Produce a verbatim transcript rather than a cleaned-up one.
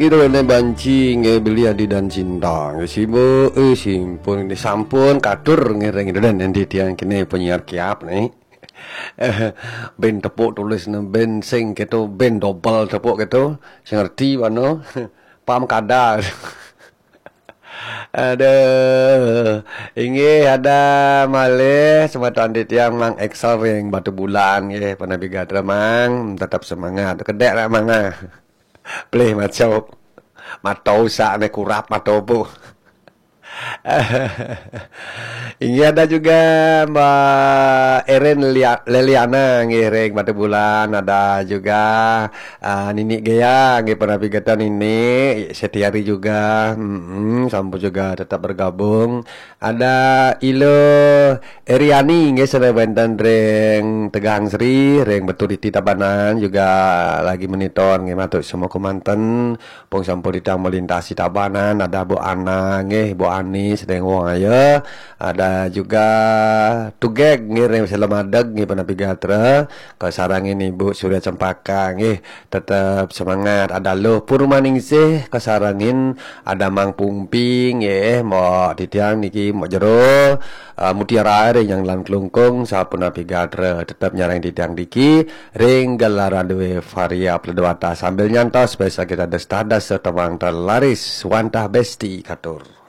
Ida ne banci nge beli adi dan cinta nge sibo eh simpun ne sampun katur nge reng ida dan nanti tiang kene penyiar kiap ne. Ben tepuk tulis ne ben sing keto ben dobel tepuk keto sing ngerti bano pam kada. Aduh, inggih ada malih semeton titiang Mang Excel ring Batu Bulan nggih, panapi gatra Mang, tetap semangat. Kedek rak Mang ah. Pelih maco. Mato usak ne kurap mato pu. Inggih ada juga Mbak Erin Lia- Leliana nggih ring Batu Bulan, ada juga ah, Nini Gea nggih panapi gatra Nini Setiari juga. Mm-mm, sampun juga tetap bergabung. Ada Ilo Eriani nggih sane wenten ring Tegang Sri, ring Beturiti Tabanan juga lagi monitor nggih matur semua kemanten. Pun sampun ditang melintasi Tabanan, ada Bu Ana nggih, Bu Ani sedeng wong ayo. Ada juga Tugeg nggih ring Selamadeg nggih panapi gatra. Kasarengin Ibu Surya Cempaka nggih, tetep semangat. Ada Luh Purmaningsih kasarengin, ada Mang Pungpi nggih, mbok titiang niki mbok jero eh, Mutiara ring yang lan kelungkung sapunapi gatra tetep nyareng titiang diki ring gelaran due Varia Pledwata sambil nyantos biasa kita destas setemang terlaris wantah besti katur.